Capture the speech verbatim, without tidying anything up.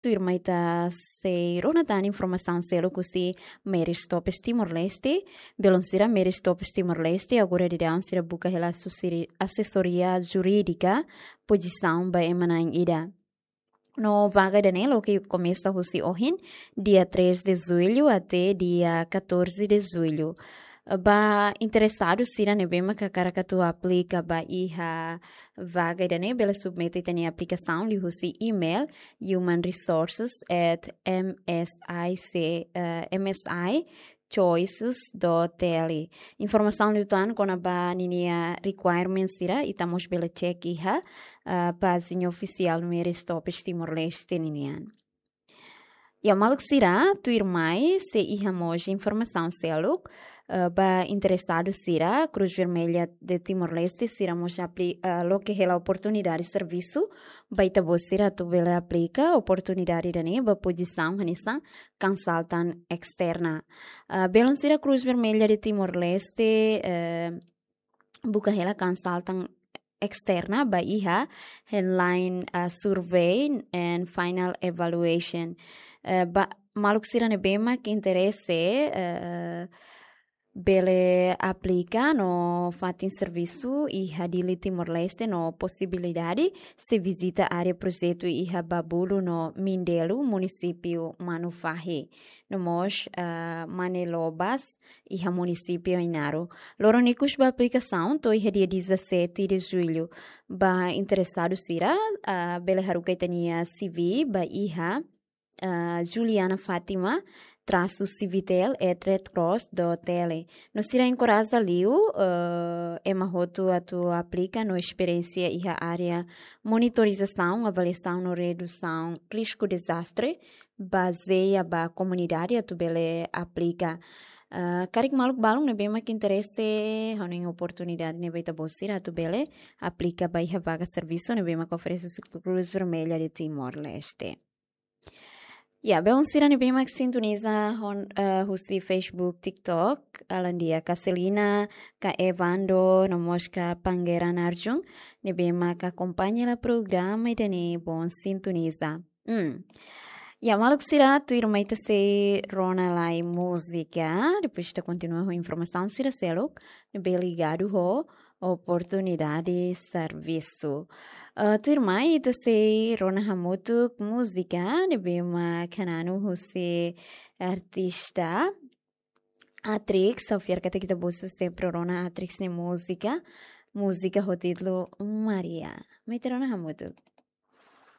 Tuirmai ita sei rona tan informasaun seluk husi Mary Stops Timor-Leste. Belun sira, Mary Stops Timor-Leste agora daudaun sira buka hela asesori-, asesoria jurídika pozisaun ba ema na'in ida. No vaga ida-ne'e loke komesa husi ohin, dia três de julho até dia catorze de julho. Ba interesadu sira ne'ebé mak hakarak atu aplika ba iha vaga ida-ne'e, bele submete ita-nia aplikasaun liuhusi email human resources at M S I C, eh, M S I choices dot T L. Informasaun liután kona-ba ninia requirements sira, ita mós bele cek iha, eh, pájina ofisiál Mary Stops Timor-Leste ninian. Ya, maluk sira, tuirmai sei iha mós informasaun seluk, eh, ba interesadu sira, Cruz Vermelha de Timor-Leste sira mós apli-, eh, loke hela oportunidade servisu ba ita-boot sira atu bele aplika. Oportunidade ida-ne'e ba pozisaun hanesan consultant externa. Eh, belun sira, Cruz Vermelha de Timor-Leste, eh, buka hela consultant externa ba iha handline, eh, survey and final evaluation. Eh, ba maluk sira ne'ebé mak interese, eh, bele aplika no fatin servisu iha Dili, Timor-Leste, no posibilidade sei vizita área projetu iha Babulu no Mindelo, munisípiu Manufahi, no mós, eh, Manelobas, iha munisípiu Ainaro. Loron ikus ba aplikasaun to'o iha dia dezassete de julho. Ba interesadu sira, ah, bele haruka ita-nia C V ba iha, ah, Juliana Fátima traço civitel at red cross dot T L. No sira enkoraja liu, eh, ema hotu atu aplika no esperiénsia iha área monitorizasaun, avaliasaun no redusaun risku dezastre, bazeia ba komunidade atu bele aplika. Ah, karik maluk balun ne'ebé mak interese, hanoin oportunidade ne'e ba ita-boot sira atu bele aplika ba iha vaga servisu ne'ebé mak oferese husi Cruz Vermelha de Timor-Leste. Ya, belun sira ne'ebé mak sintoniza hon-, eh, husi Facebook, TikTok, alin di'ak ka Selina, ka Evando, no mós ka Pangeran Arjun, ne'ebé mak akompaña hela programa ida-ne'e, bom sintoniza. Hmm. Ya, maluk sira, tuirmai ita sei rona lai múzika, depois ita kontinua ho informasaun sira seluk ne'ebé ligadu ho oportunidade servisu. Eh, tuirmai ita sei rona hamutuk múzika ne'ebé mak hananu husi artista Atrix, ha'u fiar katak ita-boot sira sempre rona Atrix nia múzika, múzika ho títulu Maria. Mai ita rona hamutuk.